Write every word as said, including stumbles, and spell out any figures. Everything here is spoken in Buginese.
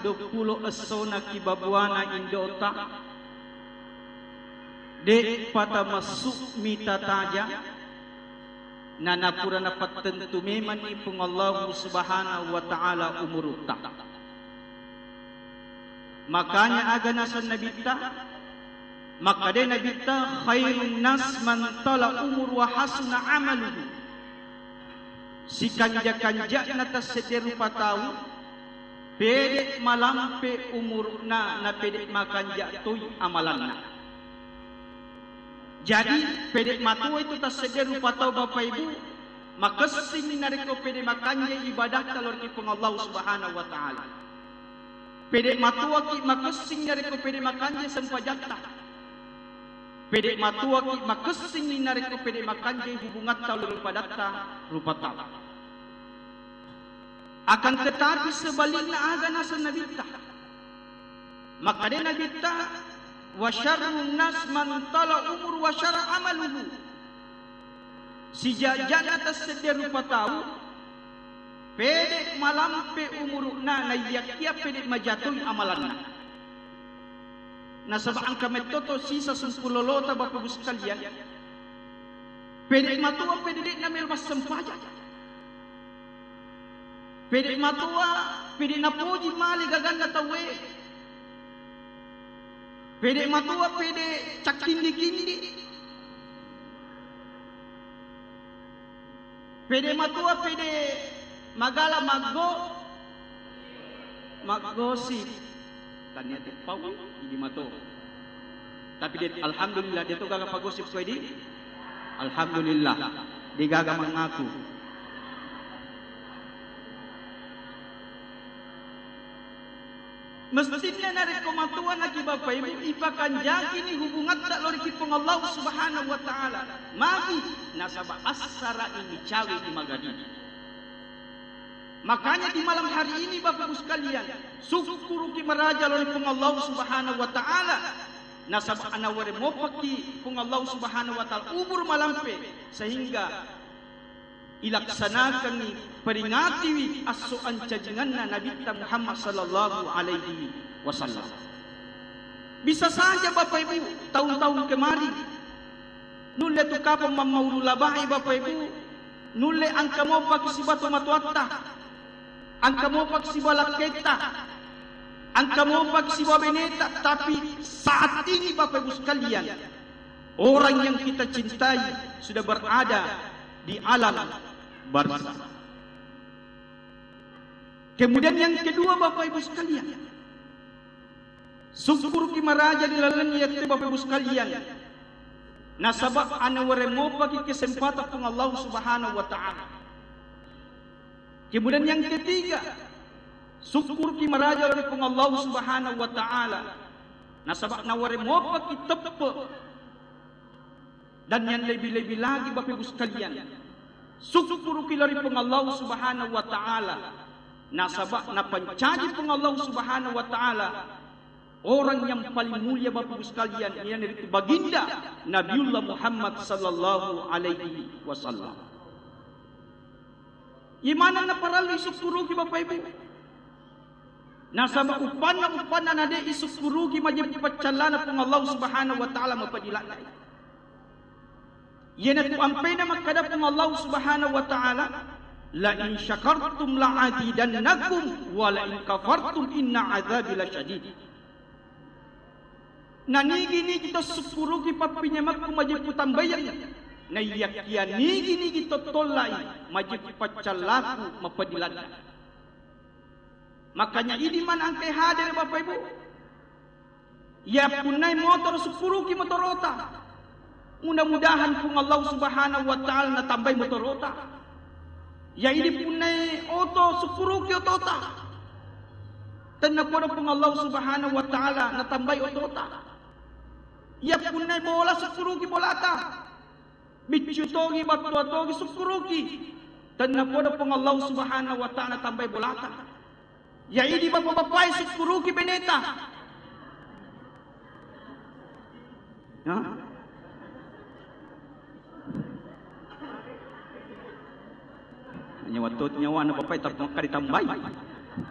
duappulo essona kibabuana indo'ta, de'pa tamassu'mi tataja, na napura napattentu memanni Puang Allahu Subhanahu wa Ta'ala umurutta. Makanya aga naseng Nabitta, makkeda Nabitta, "Khairun nas man tala umur wa hasuna amaluhu." Sikanja-kanja'na tassedde rupa tau, pede malampe umuru'na, na pede makanja toi amalanna. Jadi, pede matoa itu tassedde rupa tau, Bapak Ibu, makessing narekko pede makanja ibadatta lao ri Puang Allah Subhanahu wa Ta'ala. Pede matoaki makessing narekko pede makanja sempajatta. Pede matoaki makessing narekko pede makanja hubungatta lao ri padatta rupa tau. Akan tetapi sebalikna aga naseng Nabitta. Makkeda Nabitta, "Wa syarrun nas man tala umur wa syara amaluhu." Sijajana tassedde rupa tau, pede malampe umuru'na, naiyakkia pede majatoi amalanna. Nasaba engka mettoto sisa sumpulolota, Bapak Ibu sekalian. Pede matoa, pede de'na melo massempajang. Pede matoa, pede napoji male gaganna tauwe. Pede matoa, pede cakkindi-kindi. Pede matoa, pede magala maggo-, maggosip. Tania teppau, idi mato. Tapi de-, alhamdulillah, de to gaga pagosip ko idi. Alhamdulillah, de gaga mangaku. Mestinna narekko matoa naki Bapak Ibu, ipakanjakini hubungatta lao ri Puang Allah Subhanahu wa Ta'ala. Magi? Nasaba assara ini cawe di magadi. Makanya di malam hari ini, Bapak Ibu sekalian, sukkuruki maraja lao ri Puang Allah Subhanahu wa Ta'ala. Nasaba anaware mopaki Puang Allah Subhanahu wa Ta'ala umur malampe, sehingga ilaksanakangngi, peringatiwi esso ancajinganna Nabitta Muhammad sallallahu alaihi wasallam. Bisa saja, Bapak Ibu, tahun-tahun kemarin, nulle tu kapang mammaulu labai, Bapak Ibu, nulle engka mopaki siba tomatoatta, engka mopaki siba lakketta, engka mopaki siba beneta, tapi saat ini, Bapak Ibu sekalian, orang yang kita cintai sudah berada di alam barzakh. Kemudian yang kedua, Bapak Ibu sekalian, sukkuruki maraja di laleng iyatu, Bapak Ibu sekalian, nasaba anaware mopaki kesempatan Puang Allah Subhanahu wa Ta'ala. Kemudian yang ketiga, sukkuruki maraja lao ri Puang Allah Subhanahu wa Ta'ala, nasaba naware mopaki teppe. Dan yang lebih-lebih lagi, Bapak Ibu sekalian, sukkuruki lao ri Puang Allah Subhanahu wa Ta'ala, nasaba napancaji Puang Allah Subhanahu wa Ta'ala orang yang paling mulia, Bapak Ibu sekalian, iyanaritu baginda Nabiullah Muhammad sallallahu alaihi wasallam. Imanenna parellu isukkuruki, Bapak Ibu. Nasaba uppanna, uppanna na de isukkuruki majeppu paccallana Puang Allah Subhanahu wa Ta'ala mapadiladde. Iyanatu ampeina makkada Puang Allah Subhanahu wa Ta'ala, "La in syakartum la azidannakum, wa la in kafartum inna azabi lasyadid." Na nigi-nigi to sukkuruki pappinyamekku majeppu tambayang, na iyakkiya nigi-nigi to tollai majeppu paccallaku mapadiladde. Makanya idi maneng engkae hadere, Bapak Ibu. Yappunnai motoro, sukkuruki motorota. Mudah-mudahan Puang Allah Subhanahu wa Ta'ala natambai motorota. Ya idi punnai oto, sukkuruki otota. Tennapodo Puang Allah Subhanahu wa Ta'ala natambai otota. Ya punnai bola, sukkuruki bolata. Biccu togi, battua togi, sukkuruki. Tennapodo Puang Allah Subhanahu wa Ta'ala natambai bolata. Ya idi bapa-bapae, sukkuruki beneta. Ha? Nyawa to, nyawana bapae, tapi makka ditambai.